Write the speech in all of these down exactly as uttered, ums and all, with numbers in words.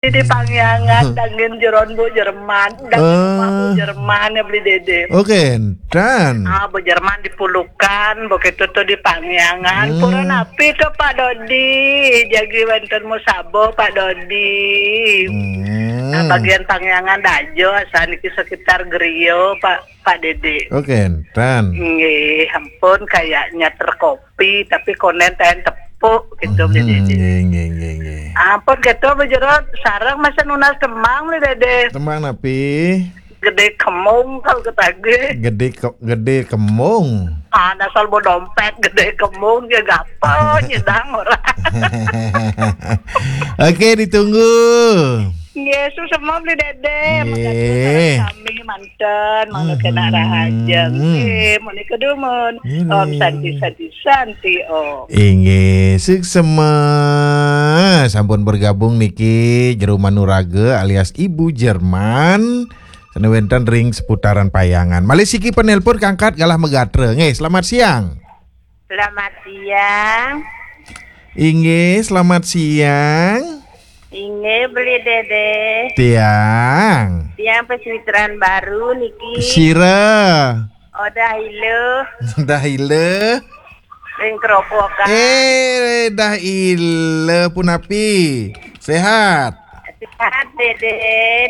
Di Pangyangan, dangin jeron Bu Jerman, dangin rumah Bu Jerman ya beli Dede. Oke, dan Ah, Bu Jerman di Pulukan, begitu tuh di Pangyangan. Hmm. Pura napi tuh Pak Dodi, jagi wenten musabo Pak Dodi. Hmm. Nah, bagian Pangyangan Dajo, asal niki sekitar Grio Pak Pak Dede. Oke, dan Nggih, ampun kayaknya terkopi tapi konen taen tepuk gitu beli Hmm, Dede. nggih, nggih, nggih, nggih. Ampun gitu Bu Jero, sarang masa nunas temang beli Dede. Temang napi? Gede kemung kalau ketagih. Gede ke, gede kemung. Ada salbo dompet gede kemung dia gapo nyedang orang. Oke, ditunggu. Yesus semua beli Dede. Nggih. Kami manten mangga kena rahajeng. Hmm. Nggih, muni kedumun. Nggih. Om Santi Santi Santi Om. Inggih, suksema. Sampun bergabung niki Jero Manuraga alias Ibu Jerman. Sane wenten ring seputaran Payangan. Malih siki penelpon kangkat galah megatra. Nggih, selamat siang. Selamat siang. Inggih, selamat siang. Inggih beli Dede. Tiang. Tiang pesitran baru niki. Sira. Odah ilu. Dah ila. Ring keropokan. Eh, dah ila punapi. Sehat. Sehat Dede,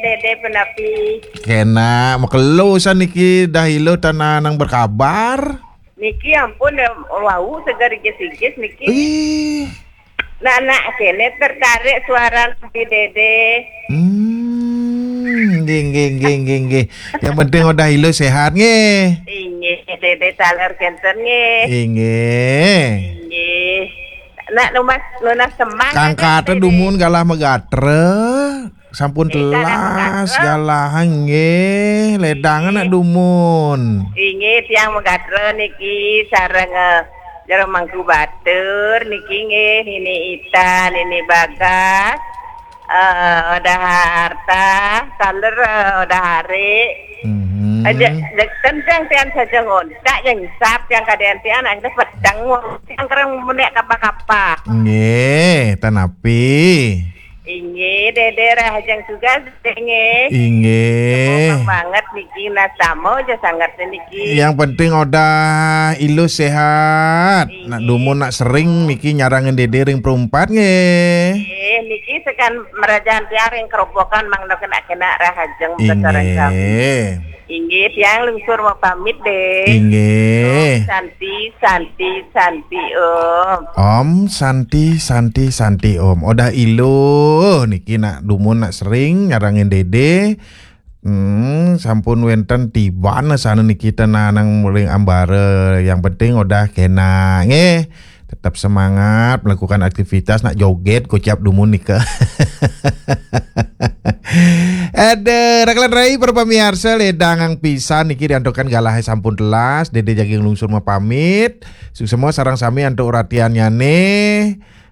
Dede penapi. Kena makelo san niki dah ila tanah nang berkabar. Niki ampun ya, wau segar igis-igis niki. Ih. Nak-nak kene tertarik suara beli Dede. Hmm, nggih, nggih, nggih, nggih, nggih. Yang penting udah ilu sehat nggih. Inggih, Dede taler kenten nggih. Inggih. Inggih. Nak nunas nunas temang. Kangkate dumun galah megatra. Sampun Eh, galah telas megatra. Galah nggih. Ledang nak dumun. Inggih tiang megatra niki sareng eh, Jero Mangku Batur niki nggih Nini Ita, Nini Bagas. Eh, Odah Harta, taler eh, Odah Hari. Mhm. Aja tentang tiang saja ngontak yang sap yang kadean tiang akhirnya pedang wong tiang kereng menek kapa-kapa. Nggih, tanapi. Inggih, Dede rahajeng juga nggih. Inggih. Gampang banget niki nasamo aja sangat niki. Yang penting udah ilu sehat. Nak dumun nak sering niki nyarangin Dede ring perumpat nggih. Eh, niki sekan merajaan tiang ring kerobokan mangda kena-kena rahajeng besaran kami. Inggih. Inggih, tiang lungsur mau pamit deh. Inggih. Santi, Santi, Santi Om. Om Santi Santi Santi Om. Odah ilu niki nak dumun nak sering nyarangin Dede. Hmm, sampun wenten tiban sana niki tanah nang muling ambara. Yang penting udah kena nggih. Tetap semangat melakukan aktivitas nak joget kocap dumun nika. Ada rakalan rai para pamiarsa ledang ang pisan niki diantukan galah sampun telas Dede jaging lungsur mapamit. Suksema sarang sami antuk uratiannyane.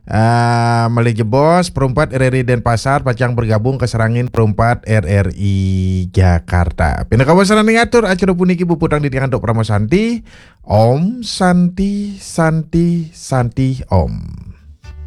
Ah, malih jebos perumpat R R I Denpasar pacang bergabung ke serangin perumpat R R I Jakarta. Pinakawasanan ngatur acara puniki puputang di antuk Parama Santi. Om Santi Santi Santi Om.